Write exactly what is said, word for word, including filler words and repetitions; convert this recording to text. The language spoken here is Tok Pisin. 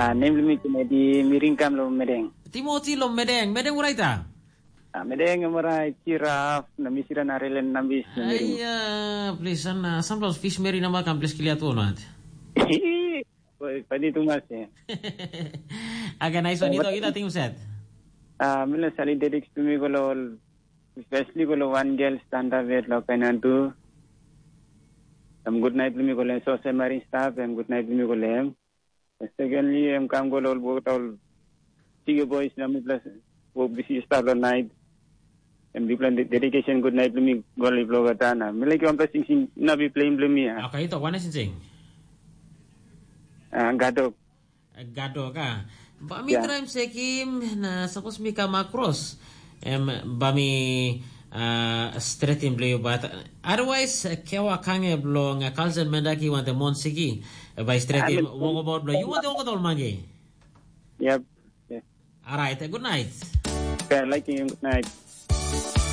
Ah, nem bilong mi Kennedy, mi ringkam long Medeng. Timoti long Medeng, Medeng uraita? Ah, Medeng em orait, Kiraf, na mi sida na Relen Nambis na mi ring. Aiya, please, and uh, sometimes fish mary number kan please clear tu not. Oi, padi tu mas ya. Aga nice one, ito, ito, ting set. Ah, mi lo sali dediks tu mi ko lo, especially ko lo one girl stand up yet lo kainan tu. Em good night lo mi ko lo, so se marin staff, em good night lo mi ko lo em. Secondly, em kam go lo ol bukata ol Tiga boys na mipela wok bisi start long night. Em bikpela dedication good night mi gol i bloga tana. Mi like wanpela sing sing na bi plain blem mi. Ah, okay, ito wana sing sing. Ah, gadok. Gadok ah. Ba mi try sekim na suppose mi come across. Em ba mi uh, stretim blue but otherwise uh, kewa kange blong uh, kalsen mendaki wante monsiki uh, by stretim wongo about blong you want to wongo mangi. Yep. Yeah. All right. Uh, good night. Okay, I like you. Good night.